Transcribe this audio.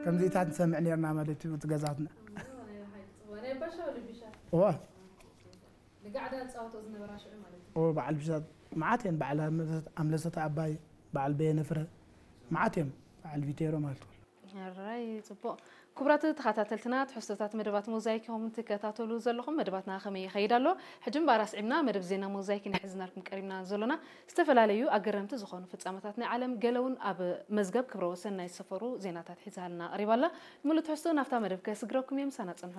ከምዚታት ንሰምዕ ነርና ማለት እዩ እቲ ገዛትና። ናይ ባሻ ወለ ቢሻ እዋ ንጋዕዳ ዝፃወቶ ዝነበራ ሽዑ ማለት እዩ። እዎ በዓል ቢሻ መዓት እየን በዓል ኣምለሰት ኣባይ በዓል በየነ ፍረ መዓት እዮም በዓል ቪቴሮ ማለት እዩ። ሕራይ ፅቡቕ። ክቡራት ተኸታተልትና ትሕዝቶታት መደባት ሞዛይክ ኢኹም ትከታተሉ ዘለኹም። መደባትና ከመይ ይኸይድ ኣሎ? ሕጂ እምበኣር ኣስዒብና መደብ ዜና ሞዛይክ ኢና ሒዝናልኩም ቀሪብና ዘሎና። ዝተፈላለዩ ኣገረምቲ ዝኾኑ ፍጻመታት ናይ ዓለም ገለ እውን ኣብ መዝገብ ክብረ ወሰን ናይ ዝሰፈሩ ዜናታት ሒዛልና ቀሪባ ኣላ። ሙሉእ ትሕዝቶ ናብታ መደብ ከስግረኩም እየ፣ ምሳና ጽንሑ።